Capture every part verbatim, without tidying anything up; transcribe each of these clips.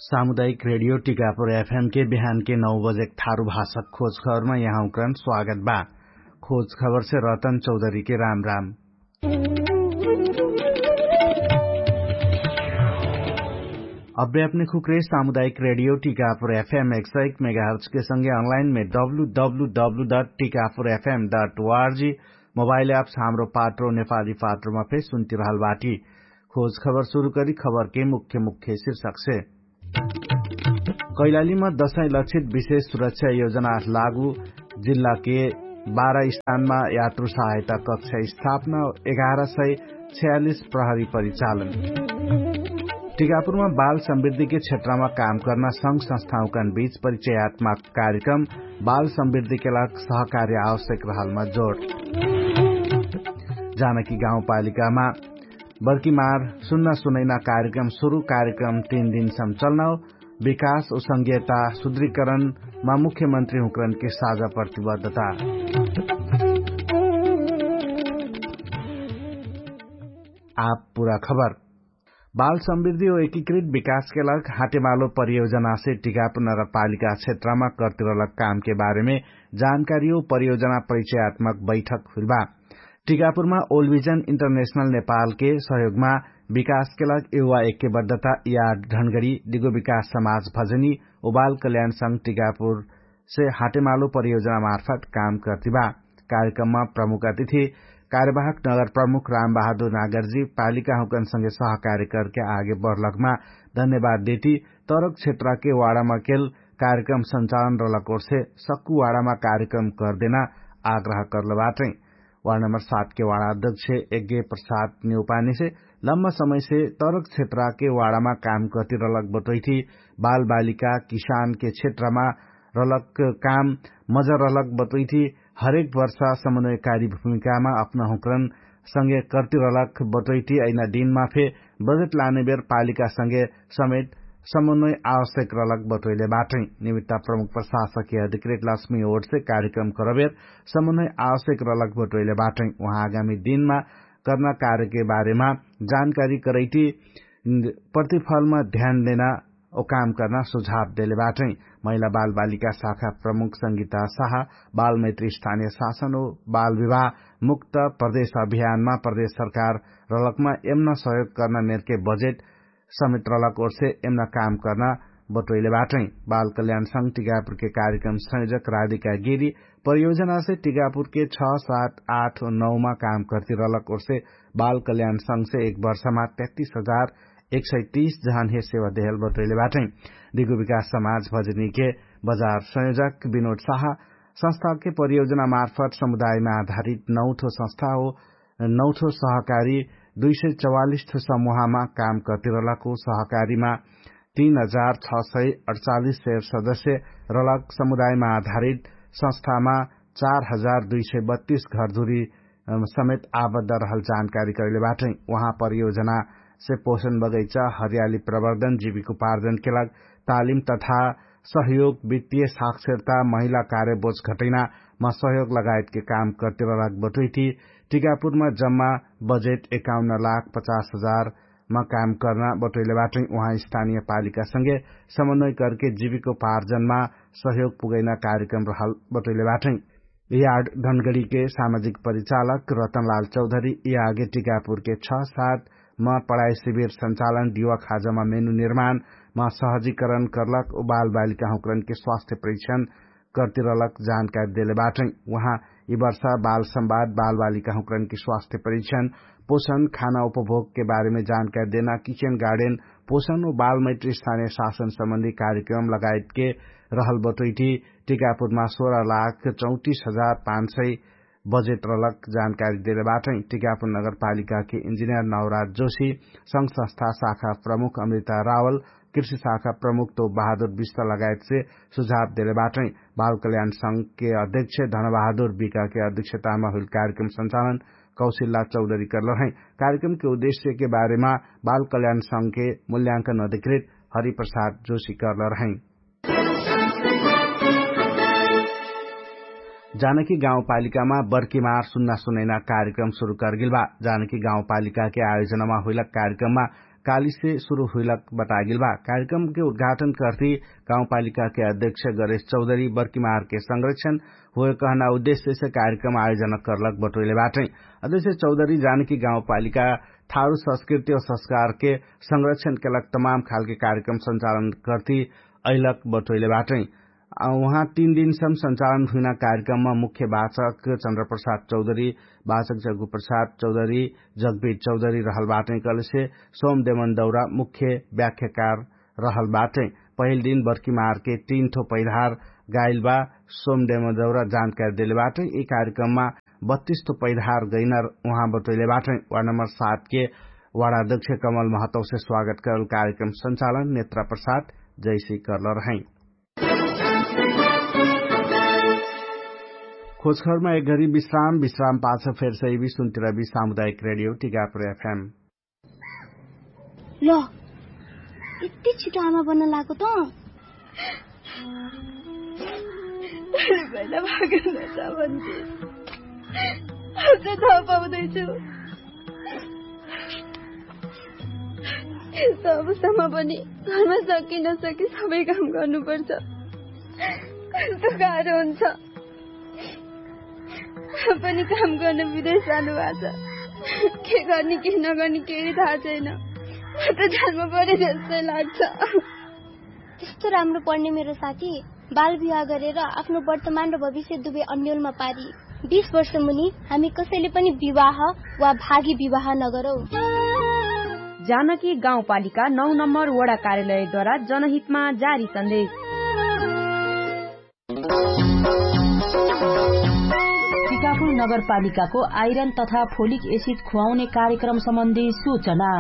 सामुदायिक रेडियो टिकापुर एफएम के बिहान के नौ बजे थारु भाषक खोज खबरमा यहाँउक्रन स्वागत बा। खोज खबर से रतन चौधरी के राम राम। अब्बे अपने खुक्रे सामुदायिक रेडियो टिकापुर एफएम एक सौ एक मेगाहर्च के संगे अनलाइन में W W W dot Tikapur F M dot O R G mobile apps Hamro Patro नेपाली पात्रोमा फेर सुन्ति रहल बाटी। खोज खबर सुरु करी खबर के मुख्य मुख्य शीर्षक से। कैलालीमा दशैं लक्षित विशेष सुरक्षा योजना लागू। जिल्ला के बाह्र स्थानमा यात्रु सहायता कक्षा स्थापना। एघार सय छयालिस प्रहरी परिचालन। टिकापुरमा बाल समृद्धिके क्षेत्रमा काम कर्ना संघ संस्थाहुकन बीच परिचयात्मक कार्यक्रम। बाल समृद्धिके लाग सहकार्य आवश्यक रहलमा जोड। जानकी गाउँपालिकामा बर्कीमार सुन्ना सुनैना कार्यक्रम सुरु। कार्यक्रम तीन दिन सम चल्नाओ। विकास उसंगीयता सुद्रीकरणमा मुख्यमन्त्री हुँकरनके साझा प्रतिबद्धता। आप पुरा खबर। बाल समृद्धि ओ एकीकृत विकासके लग हाटेमालो परियोजनासे टिकापुर नगरपालिका क्षेत्रमा कर्तिरलक कामके बारेमे जानकारी ओ परियोजना परिचयात्मक बैठक हुइलबा। टिकापुरमा ओलभिजन इन्टरनेशनल नेपालके सहयोगमा विकासके लग युवा एक्यबद्धता यार ढनगडी दिगो विकास समाज भजनी ओ बाल कल्याण संघ टिकापुरसे हाटेमालो परियोजना मार्फत काम कर्तिबा। कार्यक्रममा प्रमुख अतिथि कार्यवाहक नगर प्रमुख रामबहादुर नागरजी पालिकाहुँकनसँगे सहकार्य करके आगे बढलकमा धन्यवाद देती। तरक क्षेत्रके वाडामा केल कार्यक्रम संचालन रलक ओर्से सक्कु वाडामा कार्यक्रम कर्देना आग्रह कर्लबाटै। वार्ड नम्बर सात के वार्ड अध्यक्ष यज्ञ प्रसाद नेउपानी से लम्बा समय से तरक क्षेत्र के वार्ड मा काम करती रलक बटोइथी। बाल बालिका किसान के क्षेत्र मा रलक काम मजा रलक बटोइथी। हरेक वर्ष समन्वयकारी भूमिका मा अपना हुक्रन संगे करती रलक बटोइथी। अइना दिन मा फे बजेट लाने बेर पालिका संगे समेत समन्वय आवश्यक रलक बटोइले बाटै। निमित्ता प्रमुख प्रशासक अधिकृत लक्ष्मी ओर्से कार्यक्रम करबेर समन्वय आवश्यक रलक बटोइले बाटै। उहाँ आगामी दिनमा कर्ना कार्यके बारेमा जानकारी करैटी प्रतिफलमा ध्यान देना ओ काम कर्ना सुझाव देले बाटै। महिला बाल बालिका शाखा प्रमुख संगीता साहा बाल मैत्री स्थानीय शासन ओ बाल विवाह मुक्त प्रदेश अभियानमा प्रदेश सरकार रलकमा एमना सहयोग कर्ना मेरके बजेट समेत रलक ओर्से एमना काम कर्ना बटोइले बाटै। बाल कल्याण संग टिकापुरके कार्यक्रम संयोजक राधिका गेरी परियोजनासे टिकापुरके छ सात आठ नौमा काम कर्ती रलक ओर्से बाल कल्याण संगसे एक वर्षमा तेत्तीस हजार एक सय तीस जहान हे सेवा देहल बटोइले बाटै। दिगु विकास समाज भजनीके बजार संयोजक विनोद साहा संस्थाके परियोजना मार्फत समुदायमा आधारित नौठो संस्था हो नौठो सहकारी दुई सय चौवालिस ठो समूहमा काम कर्ती रलक हो। सहकारीमा तीन हजार छ सय अडचालिस सय सदस्य रलक समुदायमा आधारित संस्थामा चार हजार दुई सय बत्तीस घरधुरी समेत आबद्ध रहल जानकारी करैले बाटै। उहाँ परियोजनासे पोषण बगैचा हरियाली प्रवर्धन जीविकोपार्जनके लाग तालिम तथा सहयोग वित्तीय साक्षरता महिला कार्यबोझ घटैनामा सहयोग लगायतके काम कर्तिरलक बटोइटी। टिकापुरमा जम्मा बजेट एकाउन्न लाख पचास हजारमा काम कर्ना बटोइले बाटै। उहाँ स्थानीय पालिकासँगे समन्वय करके जीविकोपार्जनमा सहयोग पुगैना कार्यक्रम रहल बटोइले बाटै। यार्ड धनगडीके सामाजिक परिचालक रतनलाल चौधरी यागे टिकापुरके छ सात म पढाइ शिविर सञ्चालन दिवा खाजामा मेनु निर्माण म सहजीकरण कर्लक उ बालबालिकाहुँकरनके स्वास्थ्य परीक्षण कर्तिरलक जानकारी देले बाटै। उहाँ यि वर्षा बाल संवाद बालबालिकाहुँकरनके स्वास्थ्य परीक्षण पोषण खाना उपभोगके बारेमे जानकारी देना किचेन गार्डेन पोषण उ बालमैत्री स्थानीय शासन सम्बन्धी कार्यक्रम लगायतके रहल बटोइटी। टिकापुरमा सोह्र लाख चौतिस हजार पाँच सय बजेट रलक जानकारी देले बाटै। टिकापुर नगरपालिकाके इन्जिनियर नवराज जोशी संघ संस्था शाखा प्रमुख अमृता रावल कृषि शाखा प्रमुख तो बहादुर विष्ट लगायतसे सुझाव देले बाटै। बाल कल्याण संघके अध्यक्ष धनबहादुर विकाके अध्यक्षतामा हुइल कार्यक्रम सञ्चालन कौशिल्ला चौधरी कर्लहै। कार्यक्रमके उद्देश्यके बारेमा बाल कल्याण संघके मूल्यांकन अधिकृत हरिप्रसाद जोशी कर्लरहै। जानकी गाउँपालिकामा बर्कीमार सुन्ना सुनैना कार्यक्रम सुरु करगेल बा। जानकी गाउँपालिकाके आयोजनामा हुइलक कार्यक्रममा कालीसे सुरु हुइलक बतागेल बा। कार्यक्रमके उद्घाटन कर्ती गाउँपालिकाके अध्यक्ष गरेश चौधरी बर्कीमारके संरक्षण होए कहना उद्देश्यसे कार्यक्रम आयोजना कर्लक बटोइले बाटै। अध्यक्ष चौधरी जानकी गाउँपालिका थारु संस्कृति और संस्कारके संरक्षणके लग तमाम खालके कार्यक्रम संचालन कर्ती अइलक बटोइले बाटै। उहाँ तीन दिनसम संचालन हुइना कार्यक्रममा मुख्य बाचक चन्द्रप्रसाद चौधरी, बाचक जग्गुप्रसाद चौधरी, जग्गबीर चौधरी रहल बाटै कहलेसे सोमदेमन दौरा मुख्य व्याख्याकार रहल बाटै। पहिल दिन बर्कीमारके तीन ठो पैधार गाइल बा। सोमदेमन दौरा जानकारी देले बाटै यि कार्यक्रममा बत्तीस ठो पैधार गैनर उहाँ बटोइले बाटै। वार्ड नम्बर सात के वार्ड अध्यक्ष कमल महतौसे स्वागत करल कार्यक्रम संचालन नेत्रा प्रसाद जैसी करल रहै। खोजखरमा एक घरी विश्राम विश्राम पाछ फेर सैबी सुन्तिरबी सामुदायिक रेडियो टिकापुर एफएम। ल यति छिटो आमा बन्न लागो त। अझ थाहा पाउँदैछु। यस्तो अवस्थामा पनि घरमा सकिन सके सबै काम गर्नुपर्छ। कस्तो गाह्रो हुन्छ। पनि काम गर्न विदेश जानुभएको छ। के गर्ने के नगर्ने केही थाहा छैन। म त जानमा परे जस्तै लाग्छ। त्यस्तो राम्रो पढ्ने मेरो साथी बाल विवाह गरेर आफ्नो वर्तमान र भविष्य दुवै अन्यलमा पारी। बिस वर्ष मुनि हामी कसैले पनि विवाह वा भागी विवाह नगरौँ। जानकी गाउँपालिका नौ नम्बर वडा कार्यालयद्वारा जनहितमा जारी सन्देश। टिकापुर नगरपालिकाको आइरन तथा फोलिक एसिड खुवाउने कार्यक्रम सम्बन्धी सूचना।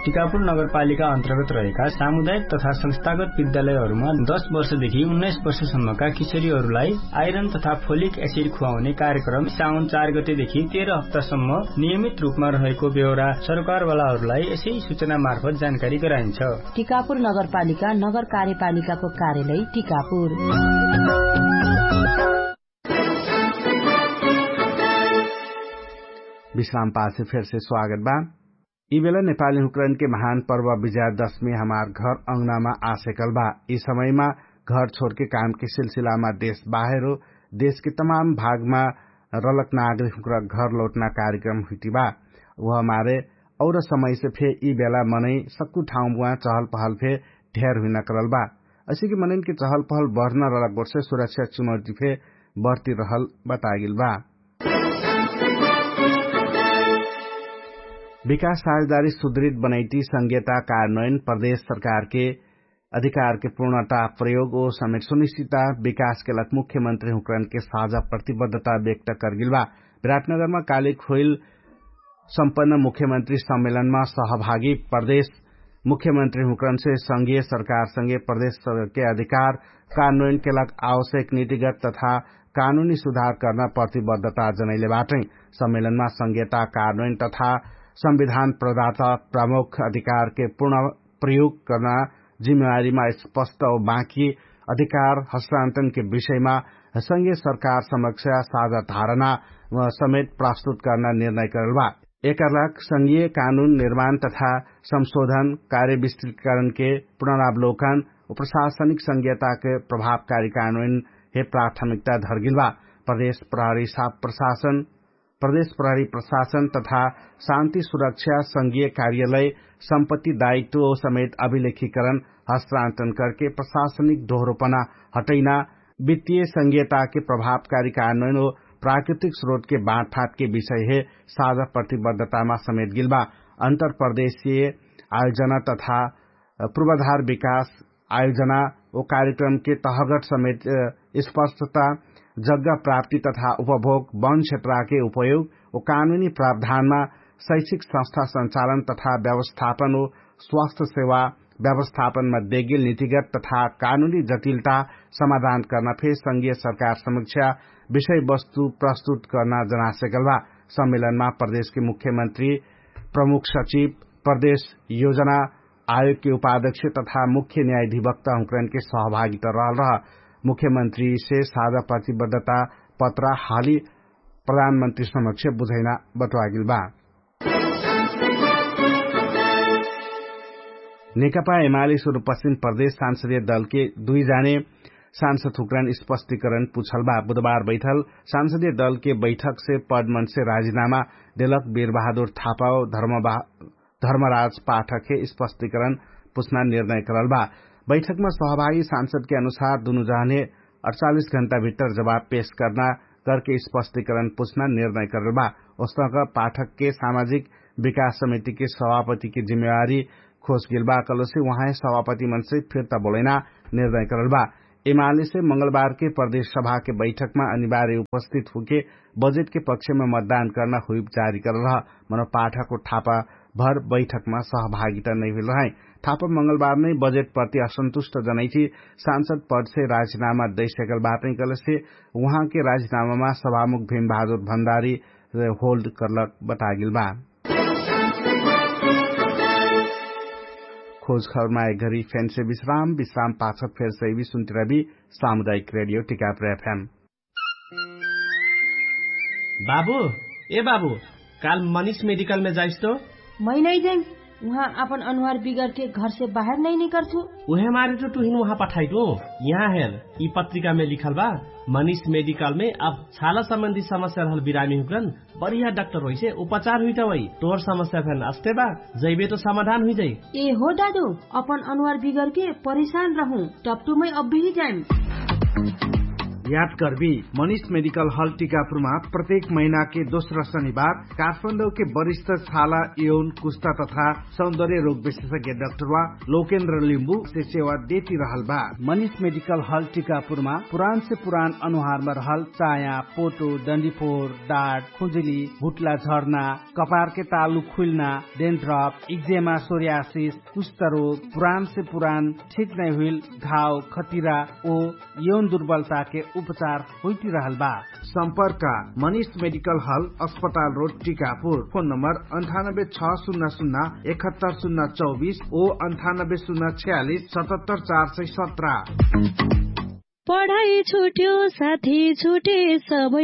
टिकापुर नगरपालिका अन्तर्गत रहेका सामुदायिक तथा संस्थागत विद्यालयहरूमा दस वर्षदेखि उन्नाइस वर्षसम्मका किशोरीहरूलाई आइरन तथा फोलिक एसिड खुवाउने कार्यक्रम साउन चार गतेदेखि तेह्र हप्तासम्म नियमित रूपमा रहेको बेहोरा सरकारवालाहरूलाई यसै सूचना मार्फत जानकारी गराइन्छ। टिकापुर नगरपालिका नगर कार्यपालिकाको कार्यालय टिकापुर। विश्राम पाछे फेरसे स्वागत बा। यि बेला नेपाली हुँकरनके महान पर्व विजयादशमी हमार घर अङ्गनामा आसेकल बा। यि समयमा घर छोडके कामके सिलसिलामा देश बाहेरो देशके तमाम भागमा रलक नागरिक हुँकरा घर लौटना कार्यक्रम हुइटी बा। उहमारे और समयसे फे यि बेला मनै सक्कु ठाउँबुवा चहल पहल फे ढेर हुइना करल बा। असिकी मनैनके चहल पहल बढ्ना रलक गोठसे सुरक्षा चुनौती फे बढ्ती रहल बतागेल बा। विकास साझेदारी सुदृढ बनैटी संघीयता कार्यान्वयन प्रदेश सरकारके अधिकारके पूर्णता प्रयोग ओ समेत सुनिश्चिता विकासके लक मुख्यमन्त्री हुँकरनके साझा प्रतिबद्धता व्यक्त करगेल बा। विराटनगरमा कालिक होइल सम्पन्न मुख्यमन्त्री सम्मेलनमा सहभागी प्रदेश मुख्यमन्त्री हुँकरनसे संघीय सरकारसँगे प्रदेश सरकारके अधिकार कार्यान्वयनके लग आवश्यक नीतिगत तथा कानुनी सुधार कर्ना प्रतिबद्धता जनैले बाटै। सम्मेलनमा संघीयता कार्यान्वयन तथा संविधान प्रदाता प्रमुख अधिकारके पूर्ण प्रयोग कर्ना जिम्मेवारीमा स्पष्ट औ बाँकी अधिकार हस्तान्तरणके विषयमा संघीय सरकार समक्ष साझा धारणा समेत प्रस्तुत कर्ना निर्णय करल बा। एकरलाग संघीय कानुन निर्माण तथा संशोधन कार्य विस्तृतकरणके पुनरावलोकन उ प्रशासनिक संघीयताके प्रभावकारी कानुन हे प्राथमिकता धर्गिल बा। प्रदेश प्रहरी साप प्रशासन प्रदेश प्रहरी प्रशासन तथा शान्ति सुरक्षा संघीय कार्यालय सम्पत्ति दायित्व समेत अभिलेखीकरण हस्तान्तरण करके प्रशासनिक दोहरोपना हटैना वित्तीय संघीयताके प्रभावकारी कानुन ओ प्राकृतिक स्रोतके बाँटफाटके विषय हे साझा प्रतिबद्धतामा समेत गिल बा। अन्तरप्रदेशीय आयोजना तथा पूर्वाधार विकास आयोजना ओ कार्यक्रमके तहगट समेत स्पष्टता जग्गा प्राप्ति तथा उपभोग वन क्षेत्रके उपयोग ओ कानुनी प्रावधानमा शैक्षिक संस्था संचालन तथा व्यवस्थापन ओ स्वास्थ्य सेवा व्यवस्थापनमा देगिल नीतिगत तथा कानुनी जटिलता समाधान कर्ना फे संघीय सरकार समीक्षा विषयवस्तु प्रस्तुत कर्ना जनासेकल बा। सम्मेलनमा प्रदेशके मुख्यमन्त्री प्रमुख सचिव प्रदेश योजना आयोगके उपाध्यक्ष तथा मुख्य न्यायाधिवक्ता हुँकरनके सहभागिता रहल रह। मुख्यमन्त्रीसे साझा प्रतिबद्धता पत्रा हाली प्रधानमन्त्री समक्ष बुझैना बटुवागिल बा। नेकपा एमाली सुरुपश्चिम प्रदेश सांसदीय दलके दुइ जाने सांसद हुक्रान स्पष्टीकरण पुछल बा। बुधबार बैठल सांसदीय दलके बैठकसे पदमनसे राजीनामा देलक बीरबहादुर थापाओ धर्मराज पाठकके स्पष्टीकरण पुछना निर्णय करल बा। बैठकमा सहभागी सांसदके अनुसार दुनु जाने अठचालिस घण्टा भित्तर जवाब पेश करना करके स्पष्टीकरण पुछना निर्णय करल बा। ओस्तक पाठकके सामाजिक विकास समितिके सभापतिके जिम्मेवारी खोजगेल बा कलसे उहाँ सभापति मनसे फिर्ता बोलैना निर्णय करल बा। एमालेसे मंगलबारके प्रदेश सभाके बैठकमा अनिवार्य उपस्थित हुके बजेटके पक्षमा मतदान करना हुइप जारी करल रह। मनो पाठकको ठापा भर बैठकमा सहभागिता नैहुइल रहै। ठापा मंगलबार नै बजेट प्रति असन्तुष्ट जनैठी सांसद पदसे राजीनामा दैसकल बाटै कलसे उहाँके राजीनामामा सभामुख भीमबहादुर भण्डारी होल्ड करलक बतागेल बा। खोजखबरमा एक घरी फेन्से विश्राम विश्राम पाछक फेर सैवी सुन्तिरबी सामुदायिक रेडियो टिकापुर एफएम। बाबु, ए बाबु, काल मनिष मेडिकलमे जाइस तो? मै नै जाइम। उहाँ आपन अनुहार बिगरके घरसे बाहेर नै निकर्छु। उहे मारे तो तुहिन उहाँ पठाइटु। यहाँ हेर, यि पत्रिकामे लिखल बा, मनिष मेडिकलमे अब छाला सम्बन्धी समस्या रहल बिरामी हुकरन बढिया डाक्टर होइसे उपचार हुइटा वै। तोर समस्या फेन अस्ते बा, जैबे तो समाधान हुइजाइ। ए हो दादु, अपन अनुहार बिगरके परेशान रहु। टपटुमै अब्बिही जाइम। याद करबी, मनिष मेडिकल हल टिकापुरमा प्रत्येक महिनाके दोस्रा शनिबार काठमाडौके वरिष्ठ छाला यौन कुस्ता तथा सौन्दर्य रोग विशेषज्ञ डाक्टरवा लोकेन्द्र लिम्बुसे सेवा देति रहल बा। मनिष मेडिकल हल टिकापुरमा पुरानसे पुरान अनुहारमा रहल चाया, पोटो, डन्डीफोर, डाट, खुजुली, भुट्ला झर्ना, कपारके तालु खुइल्ना, डेन्ड्रप, इक्जेमा, सोर्यासिस, कुष्ठरोग, पुरानसे पुरान ठिक नैहुइल घाव, खतिरा ओ यौन दुर्बलताके उपचार हुइटिरहल बा। सम्पर्क, मनिष मेडिकल हल, अस्पताल रोड टिकापुर। फोन नम्बर अन्ठानब्बे छ सुन्ना सुन्ना एकहत्तर सुन्ना चौबिस ओ अन्ठानब्बे सुन्ना छ्यालिस सतहत्तर चार सय सत्र। पढाइ छुट्यो साथी छुटे सबै